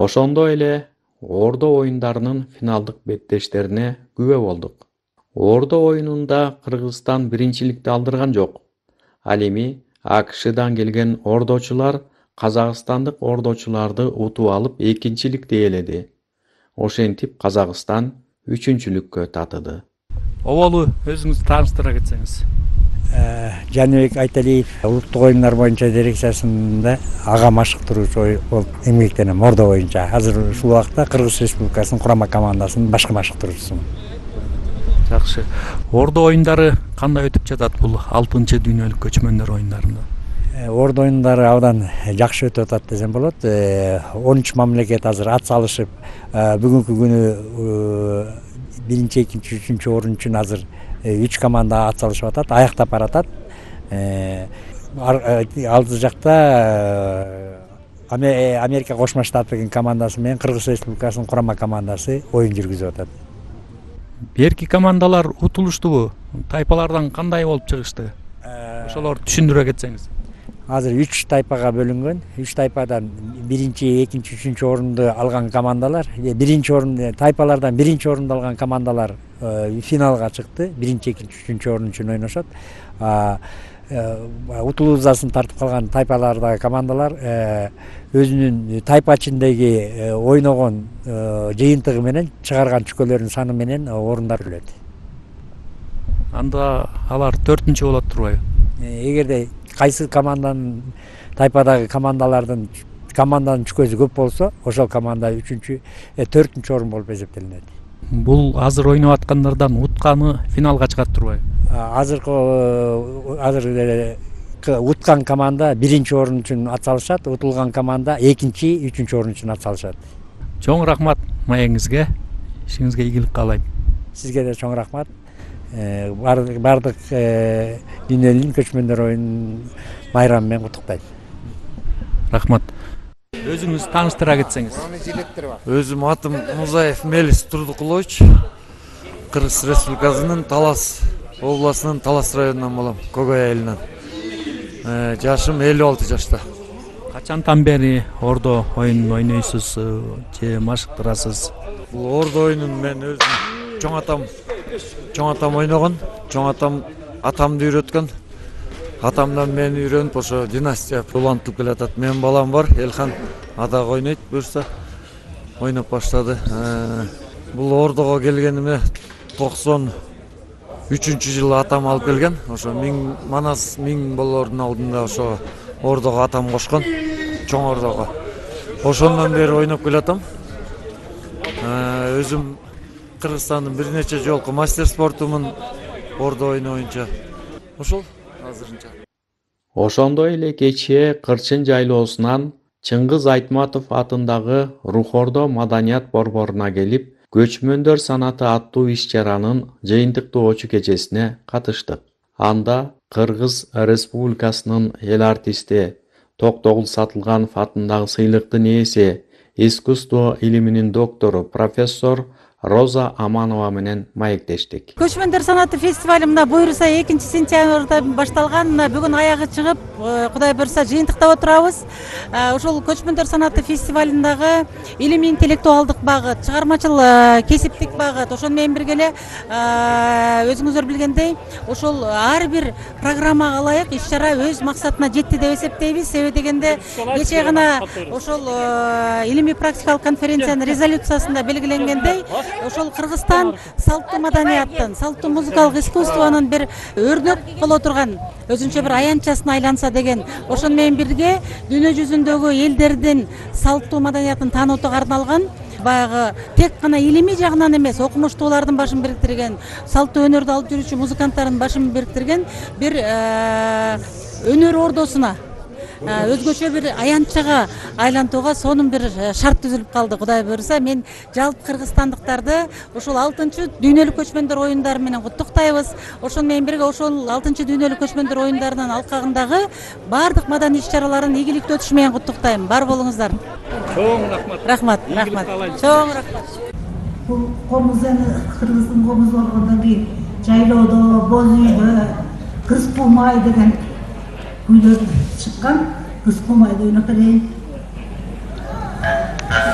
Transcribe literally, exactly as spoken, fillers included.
Ошондой эле Ордо оюндарынын финалдык беттештерине күбө болдук. Ордо оюнунда Кыргызстан биринчиликти алдырган жок. Ал эми АКШдан келген ордочулар казакстандык ордочуларды утуп алып экинчиликти ээледи. Ошентип Казакстан үчүнчүлүккө татыды. Оболу өзүңүздү тааныштыра кетсеңиз. Жаныбек Айталиев улуттук оюндар боюнча дирекциясында ага машыктыруучу болуп эмгектенем Ордо боюнча. Азыр ушул убакта Кыргыз Республикасынын курама командасынын башкы машыктыруучусумун. Жакшы. Ордо оюндары кандай өтүп жатат бул алтынчы дүйнөлүк көчмөндөр оюндарында? Ордо оюндары абдан жакшы өтүп атат десем болот. он үч мамлекет азыр ат салышып, бүгүнкү күнү биринчи, экинчи, үчүнчү орун үчүн азыр үч команда ат салышып атат, аяктап баратат. Алды жакта Америка Кошмо Штаттарынын командасы менен Кыргыз Республикасынын курама командасы оюн жүргүзүп атат. Берки командалар утулуштубу? Тайпалардан кандай болуп чыгышты? Ошолор түшүндүрө кетсеңиз. Азыр үч тайпага бөлүнгөн. үч тайпадан биринчи, экинчи, үчүнчү орунду алган командалар, биринчи орун тайпалардан биринчи орунду алган командалар финалга чыкты. биринчи, экинчи, үчүнчү орун үчүн ойношот. Утулуузасын тартып калган тайпалардагы командалар өзүнүн тайпа ичиндеги ойногон жыйынтыгы менен чыгарган чүкөлөрүнүн саны менен орундар өлөт. Анда алар төртүнчү болот турбайбы? Эгерде кайсы команданын тайпадагы командалардын команданын чүкөсү көп болсо, ошол команда үчүнчү, төртүнчү орун болуп эсептелинет. Бул азыр ойноп аткандардан утканы финалга чыгат турбайбы? Азыркы азыр уткан команда биринчи орун үчүн ат салышат, утулган команда экинчи, үчүнчү орун үчүн ат салышат. Чоң рахмат маегиңизге. Ишиңизге ийгилик каалайм. Сизге да чоң рахмат. Бардык бардык дүйнөлүк көчмөндөр оюнун майрамы менен куттуктайм. Рахмат. Өзүңүз тааныштыра кетсеңиз. Өзүм атым Музаев Мелис Турдукулович. Кыргыз Республикасынын Талас областынын Талас районунан болом, Когой айылынан. Жашым элүү алты жашта. Качантан бери Ордо оюнун ойнойсуз же машыктырасыз? Бул Ордо оюнун мен өзүм чоң атам чоң атам ойногон, чоң атам атамды үйрөткөн. Атамдан мени үйрөнүп ошо династия улантылып келатат. Менин балам бар, Элхан, адагы ойнойт, буюрса ойноп баштады. Бул Ордого келгениме токсон үчүнчү жылы атам алып келген. Ошо миң Манас миң болоордун алдында ошо Ордого атам кошкон, чоң Ордого. Ошондон бери ойноп келатам. Өзүм Кыргызстандын бир нече жолку мастер спортумун Ордо оюну боюнча. Ошол азырынча. Ошондой эле кечээ Кырчын жайлоосунан Чыңгыз Айтматов атындагы Рухордо маданият борборуна келип, көчмөндөр санаты аттуу иш-чаранын жыйынтыктоочу кечесине катыштык. Анда Кыргыз Республикасынын эл артисти Токтогул Сатылганов атындагы сыйлыктын ээси, искусство илиминин доктору профессор Роза Аманова менен маектештик. Көчмөндөр санаты фестивали мына буюрса экинчи сентябрда башталган, бүгүн аягы чыгып, Кудай буюрса жыйынтыктап отурабыз. Ошол көчмөндөр санаты фестивалындагы илимий интеллектуалдык багыт, чыгармачыл кесиптик багыт, ошону менен бирге эле өзүңүздөр билгендей, ошол ар бир программага ылайык иш-чара өз максатына жетти деп эсептейбиз. Себеби дегенде кечээ гана ошол илимий практикалык конференциянын резолюциясында белгиленгендей, ошол Кыргызстан салттуу маданияттын, салттуу музыкалык искусствонун бир өрнөк боло турган өзүнчө бир аянтчасына айланса деген, ошону менен бирге дүйнө жүзүндөгү элдердин салттуу маданиятын таануутуга арналган, баягы тек гана илимий жагынан эмес, окумуштуулардын башын бириктирген, салттуу өнөрдү алып жүрүүчү музыканттардын башын бириктирген бир өнөр ордосуна, өзгөчө бир аянтчага айлантууга сонун бир шарт түзүлүп калды. Кудай буюрса, мен жалпы кыргызстандыктарды ошол алтынчы дүйнөлүк көчмөндөр оюндары менен куттуктайбыз. Ошону менен бирге ошол алтынчы дүйнөлүк көчмөндөр оюндарынын алкагындагы бардык маданий иш-чараларын ийгиликтүү өтүшү менен куттуктайм. Бар болуңуздар. Чоң рахмат. Рахмат, рахмат. Чоң рахмат. Бул комуз эми Кыргыздын комузу болгондон кийин жайлоодо, боз үйдө Кыз Кумай деген күйлөр чыккан. Кыз Кумайды ойноп берейин.